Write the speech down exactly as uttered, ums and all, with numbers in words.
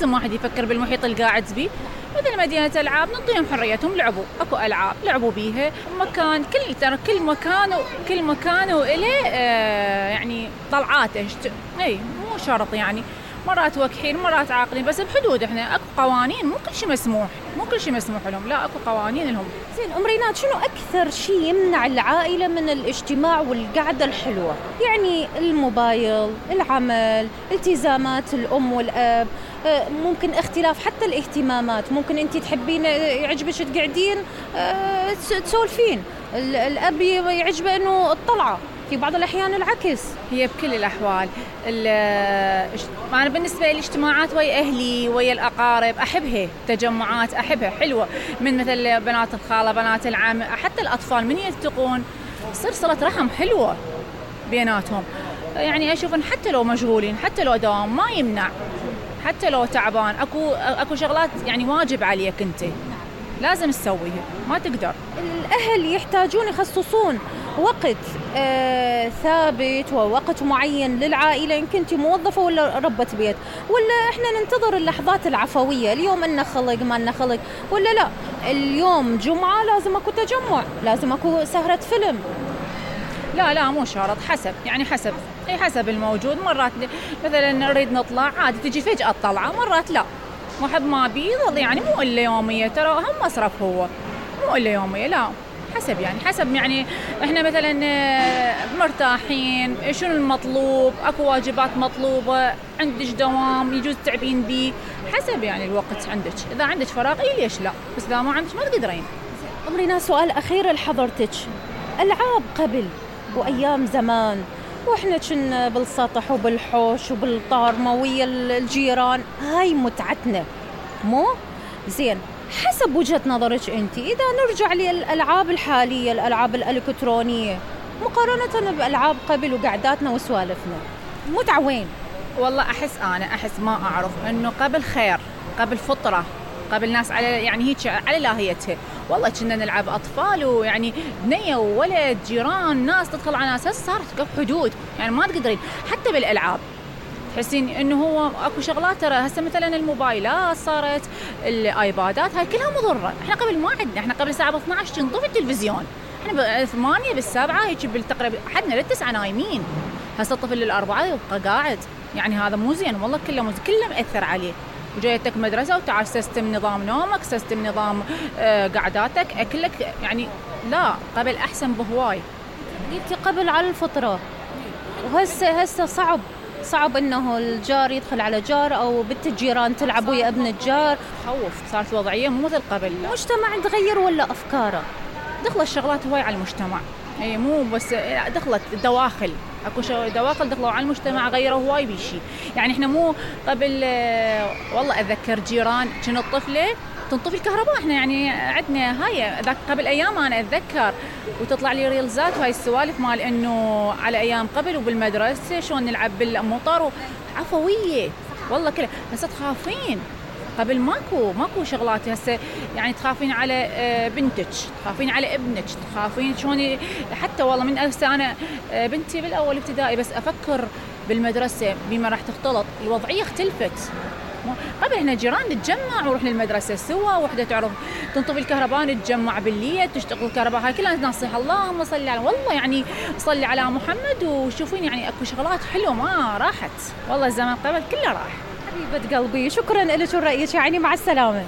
لازم واحد يفكر بالمحيط اللي قاعد بيه. مثل مدينة ألعاب نعطيهم حريتهم لعبوا، أكو ألعاب لعبوا بيها. مكان كل ترى كل مكان كل مكان وإله آه يعني طلعاته. أي مو شرط يعني مرات وكحين مرات عاقلين، بس بحدود. احنا اكو قوانين، مو كل شيء مسموح، مو كل شيء مسموح لهم، لا اكو قوانين لهم. زين ام ريناد، شنو اكثر شيء يمنع العائله من الاجتماع والقعده الحلوه؟ يعني الموبايل، العمل، التزامات الام والاب، ممكن اختلاف حتى الاهتمامات. ممكن انت تحبين يعجبك تقعدين تسولفين، الاب يعجبه انه الطلعه، في بعض الأحيان العكس. هي بكل الأحوال. أنا بالنسبة لي الاجتماعات ويا أهلي ويا الأقارب أحبها، تجمعات أحبها حلوة، من مثل بنات الخالة بنات العم، حتى الأطفال من يلتقون تصير صلة رحم حلوة بيناتهم. يعني أشوف إن حتى لو مشغولين، حتى لو دوام ما يمنع، حتى لو تعبان أكو أكو شغلات يعني واجب عليك أنت لازم تسويها، ما تقدر. الأهل يحتاجون يخصصون وقت آه ثابت ووقت معين للعائلة، إن كنت موظفة ولا ربة بيت، ولا إحنا ننتظر اللحظات العفوية، اليوم إننا خلق ما إننا خلق، ولا لا اليوم جمعة لازم أكو تجمع، لازم أكو سهرة فيلم. لا لا مو شرط، حسب يعني حسب أي حسب الموجود. مرات مثلا نريد نطلع عادي تجي فجأة الطلعة، مرات لا محب ما بيظل يعني مو إلا يومية، ترى هم مصرف هو مو إلا يومية، لا حسب يعني حسب يعني إحنا مثلا مرتاحين شنو المطلوب، أكو واجبات مطلوبة، عندك دوام يجوز تعبين بيه، حسب يعني الوقت عندك. إذا عندك فراغ إيه ليش لا، بس إذا ما عندك ما تقدرين. أم ريناد، سؤال أخير لحضرتك. ألعاب قبل وأيام زمان وإحنا كنا بالسطح وبالحوش وبالطارمة ويا الجيران، هاي متعتنا مو زين. حسب وجهة نظرك أنت، إذا نرجع للألعاب الحالية، الألعاب الإلكترونية مقارنة بألعاب قبل وقعداتنا وسوالفنا، متعة وين؟ والله أحس أنا أحس ما أعرف إنه قبل خير، قبل فطرة، قبل ناس على يعني هيك على لاهيتها. والله كنا نلعب أطفال ويعني بنية وولد جيران ناس تدخل على ناس. هسه صارت حدود يعني ما تقدرين حتى بالألعاب تحسين إنه هو أكو شغلات. ترى هسه مثلا الموبايلات صارت، الآيبادات هاي كلها مضرة. إحنا قبل ما عندنا، إحنا قبل الساعة اثنعش تنطفي التلفزيون، إحنا بالثمانية بالسبعة هيك بالتقريبا حدنا للتسعة نايمين. هسه الطفل للأربعة يبقى قاعد، يعني هذا مو زين والله، كله مو كله مأثر عليه. وجايتك مدرسة وتعال سيستم نظام نومك، سيستم نظام آه قعداتك، أكلك، يعني لا قبل أحسن بهواي. قلتي قبل على الفطرة، وهسه هسه صعب صعب إنه الجار يدخل على جار أو بنت الجيران تلعب ويا ابن الجار. خوف، صارت وضعية مو مثل قبل. المجتمع تغير ولا أفكاره؟ دخل الشغلات هواي على المجتمع، اي مو بس دخلت الدواخل، اكو دواخل دخلوا على المجتمع غيروا هواي بشي. يعني احنا مو قبل والله اتذكر جيران كنا الطفله تنطفي الكهرباء، احنا يعني عندنا هاي ذاك قبل ايام انا اتذكر، وتطلع لي ريلزات وهاي السوالف مال انه على ايام قبل وبالمدرسه شلون نلعب بالمطر عفويه والله كله. بس تخافين قبل ماكو ماكو شغلات هسه، يعني تخافين على بنتك، تخافين على ابنك، تخافين شلون. حتى والله من هسه انا بنتي بالاول ابتدائي بس افكر بالمدرسه بما راح تختلط، الوضعيه اختلفت. قبل احنا جيران نتجمع ونروح للمدرسه سوا، وحده تعرف تنطفي الكهرباء نتجمع بالليل تشتغل الكهرباء، هاي كلها نصيحه اللهم صل على والله يعني صلي على محمد. وشوفين يعني اكو شغلات حلوه ما راحت والله، الزمان قبل كله راح. حبيبة قلبي شكرا لك ورأيك، يعني مع السلامة.